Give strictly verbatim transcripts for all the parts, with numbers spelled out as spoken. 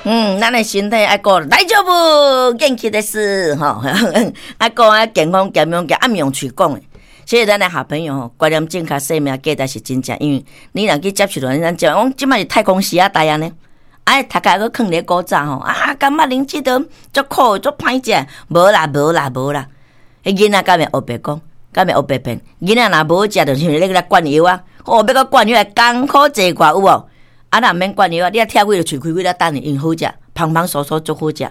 嗯，咱的身體愛顧大丈夫，元気です吼，愛顧愛健康健康健，啊毋用喙講的。所以咱的好朋友吼，觀念正確，生命價值是真正，因為你若去接觸到咱這，講這擺是太空時仔代按呢，哎，讀較閣囥佇咧古早吼，啊，感覺恁這都足苦足歹食，無啦無啦無啦，彼囡仔敢會烏白講，敢會烏白騙？囡仔若無好食，就是咧來灌藥啊，哦，欲閣灌藥來艱苦濟偌有無？啊，若毋免灌藥啊，你啊拆開就喙開開咧等伊，因好食，芳芳酥酥足好食，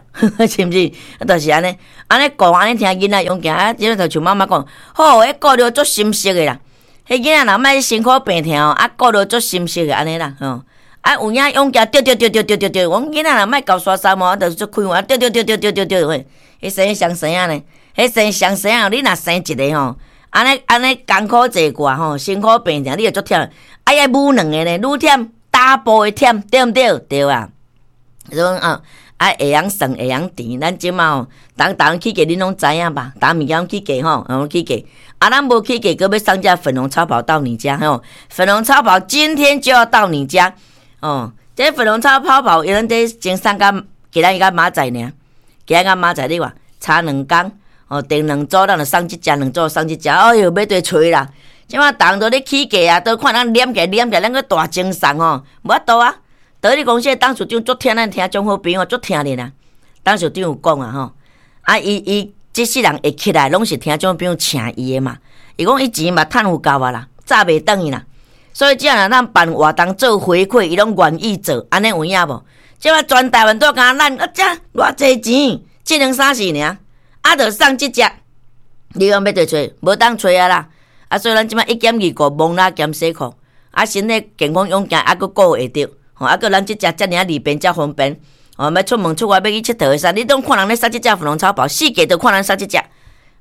是毋是？啊，就是按呢，按呢顧按呢聽囡仔勇健啊，這就像媽媽講，好，彼顧著足心適的啦。彼囡仔若莫辛苦病痛哦，啊，顧著足心適的按呢啦，吼。啊，有影勇健對對對對對對對，阮囡仔若莫厚沙衫哦，就是足開放，對對對對對對對，嘿，彼生雙生仔呢，彼生雙生仔，你若生一个吼，按呢按呢艱苦濟寡吼，辛苦病痛，你會足忝。啊，愛母兩个呢，愈忝。double 的忝對毋對？對啊。所以啊，啊會曉算會曉甜，咱這馬吼，逐逐起價恁攏知影吧？逐物件起價吼，攏起價。啊，咱無起價，閣欲送這粉紅超跑到你家吼。粉紅超跑今天就要到你家哦。這粉紅超跑跑，伊咱這先送甲今仔日甲明仔載爾，今仔日甲明仔載你話差兩工哦，訂兩組，咱就送這隻，兩組送這隻。哎喲，欲對揣啦！這馬逐人都咧起價啊，都看人黏起來黏起來，咱閣大贈送吼，無法度啊！得你公司董事長足疼咱聽眾好朋友足疼恁啊。董事長有講啊吼，啊伊伊這世人會起來，攏是聽眾朋友請伊的嘛。伊講伊錢嘛趁有夠啊啦，早袂轉去啦。所以只要若咱辦活動做回饋，伊攏願意做，按呢有影無？這馬全台灣都敢咱啊，這偌濟錢，這兩三四爾，啊，著送這隻，你講欲佗揣，無當揣啊啦！啊，所以咱這馬一減二顧，摸蜊兼洗褲，啊，身體健康勇健，啊，閣顧會著，吼，啊，閣咱這隻遮爾仔利便遮方便，哦，欲出門出外欲去𨑨迌的時，你攏看人咧捒這隻粉紅超跑，四界都看人捒這隻，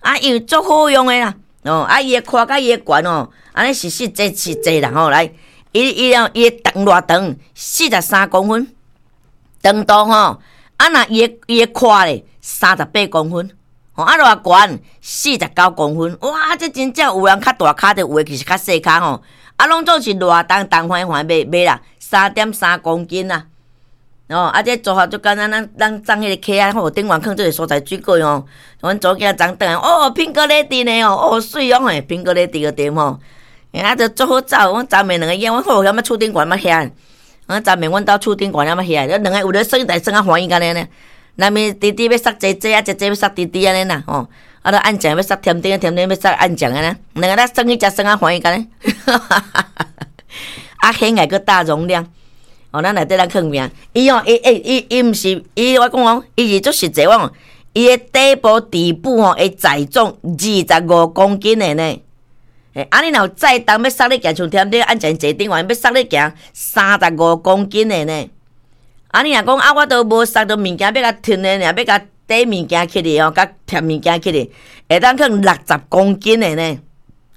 啊，因為足好用的啦，哦，啊，伊的寬佮伊的懸哦，按呢是實際實際啦，吼，來，伊伊哦，伊的長偌長，四十三公分，長度吼，啊，若伊的伊的寬咧，三十八公分。啊，偌懸四十九公分，哇！這真正有人較大跤的，有的其實較細跤吼。啊，攏總是偌重重橫橫袂袂啦，三點三公斤啊。哦，啊，這組合足簡單，咱咱送彼個客仔吼，頂懸囥這個蔬菜水果吼。阮查某囝昨轉來，哦，Pink Lady 呢哦，哦，媠哦嘿，Pink Lady 個對吼。啊，就足好走，阮昨暝兩个囝，阮好遐物厝頂懸物遐，阮昨暝阮兜厝頂懸遐物遐，兩个有咧耍台耍較歡喜按呢呢。那物弟弟欲捒姐姐啊，姐姐欲捒弟弟按呢啦吼，啊，著按醬欲捒甜點，甜點欲捒按醬按呢，兩個咧耍去食耍較歡喜按呢，啊，顯愛閣大容量，哦，咱內底咱囥名，伊哦，伊伊伊伊毋是，伊我講哦，伊是足實際，我講，伊的底部底部吼會載重二十五公斤的呢，欸，啊，你若有載重欲捒咧行，像甜點按醬坐頂懸欲捒咧行三十五公斤的呢。啊！你若講啊，我都無捒著物件，欲共吞的爾，欲共綴物件起來吼，共疊物件起來，會當囥六十公斤的呢！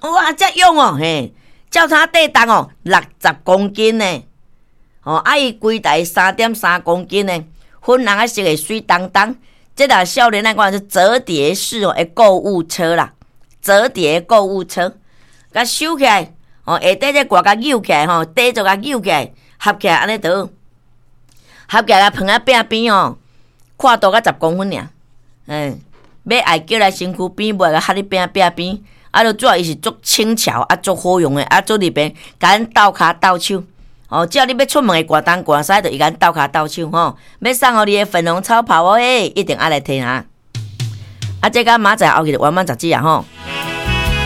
哇，遮勇哦，嘿，轎車底重哦，六十公斤呢！哦，啊，伊規台三點三公斤呢，粉紅仔色的媠當當，這若少年來講是折疊式哦的購物車啦，折疊購物車，共收起來，哦，下底這蓋共扭起來吼，底座共扭起來，合起來按呢著。合起來放佇壁邊哦，闊度才十公分爾，嗯，欲愛叫來身軀邊，無愛共合佇壁壁邊，啊，著主要伊是足輕巧啊，足好用的，啊，足利便，共咱鬥跤鬥手，哦，只要你欲出門會掛東掛西，就會共咱鬥跤鬥手吼。欲送予你的粉紅超跑哦，欸，一定愛來提啊！啊，這個明仔載後日圓滿十指啊吼。